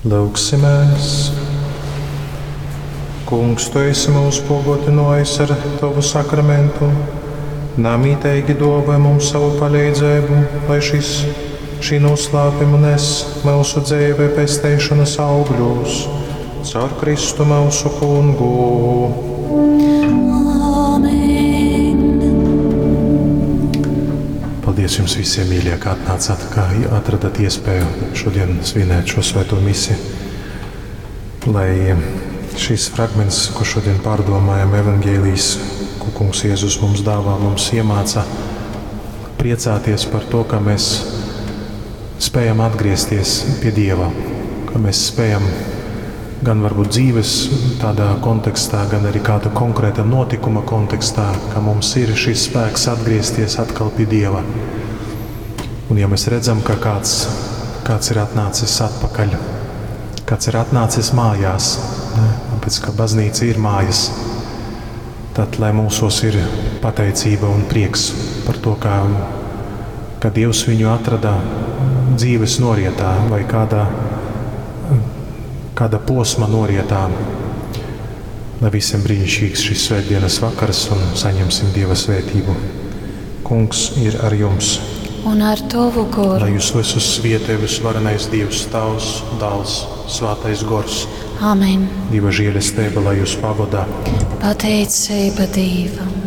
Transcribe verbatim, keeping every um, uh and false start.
Lūgsimies! Kungs, Tu esi mūs pogodinājis ar Tavu sakramentu. Namīteigi dāvā mums savu palīdzību, lai šis, šī noslēpuma nes mūsu dzīvē pesteišanas augļus. Caur Kristu mūsu kungu. Āmen. Paldies jums visiem, mīļie, ka atnācāt, ka atradat iespēju šodien svinēt šo svēto misi. Lai šis fragments, ko šodien pārdomājam, evaņģēlijs, ko Kungs Jēzus mums dāvā, mums iemāca priecāties par to, ka mēs spējam atgriezties pie Dieva, ka mēs spējam gan varbūt dzīves tādā kontekstā, gan arī kāda konkrēta notikuma kontekstā, ka mums ir šis spēks atgriezties atkal pie Dieva. Un ja mēs redzam, ka kāds, kāds ir atnācis atpakaļ, kāds ir atnācis mājās, ne, tāpēc, ka baznīca ir mājas, tad lai mūsos ir pateicība un prieks par to, kā, ka Dievs viņu atrada dzīves norietā vai kādā, kāda posma norietā. Lai visiem brīnišķīgs šis svētdienas vakars un saņemsim Dieva svētību. Kungs ir ar jums. Un ar Tavu goru. Lai jūs visus svietē visvarenais Dievs, Tēvs, Dēls, Svētais Gors. Āmen. Dieva žēlastība, lai jūs pavadā. Pateicība Dievam.